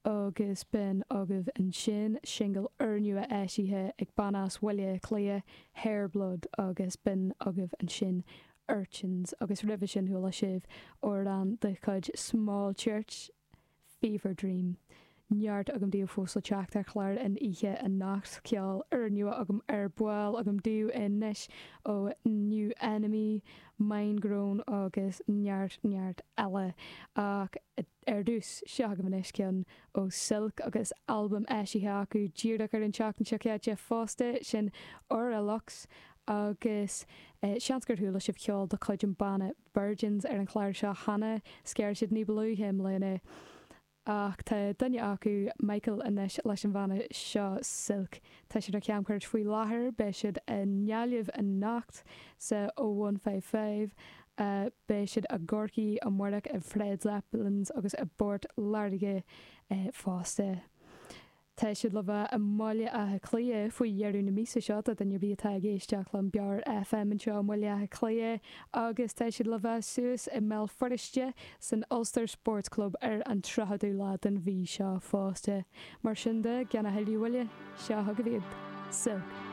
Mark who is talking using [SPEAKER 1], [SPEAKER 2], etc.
[SPEAKER 1] Agus b'in agaibh ansin singil úrnua eisithe ag banna as Bhaile Átha Cliath, Hairblood, agus b'in agaibh ansin Urchins. Agus roimhe sin chuala sibh amhrán de chuid Small Church, Fever Dream. Neart agam daoibh fós le teacht ar chlár an oíche anocht. Ceol úrnua agam ar ball agam daoibh anois ó New Enemy, Mindgrown agus neart neart eile. Ach ar dtús, seo agaibh anois ceann ó Silk agus albam eisithe acu díreach ar an tseachtain seo caite fosta, sin Aura Lux agus seans gur chuala sibh ceol de chuid an banna Virgins ar an chlár seo cheana, scar siad ní ba luaithe i mbliana. Ach tá duine acu, Michael, anois leis an bhanna seo, Silk. Tá siad ar camchuairt faoi láthair, beidh siad i nGaillimh anocht sa 0155, beidh siad i gCorcaigh amárach i Fred Zeppelin's agus i bPort Láirge fosta. Tá siad le bheith i mBaile Átha Cliath faoi dheireadh na míosa seo, do dhuine ar bith atá ag éisteacht le Meabhair FM anseo i mBaile Átha Cliath, agus tá siad le bheith suas i mBéal Feirste san Ulster Sports Club ar an 30ú lá den mhí seo fosta. Mar sin de, gan a thuilleadh moille, seo chugaibh iad, Silk.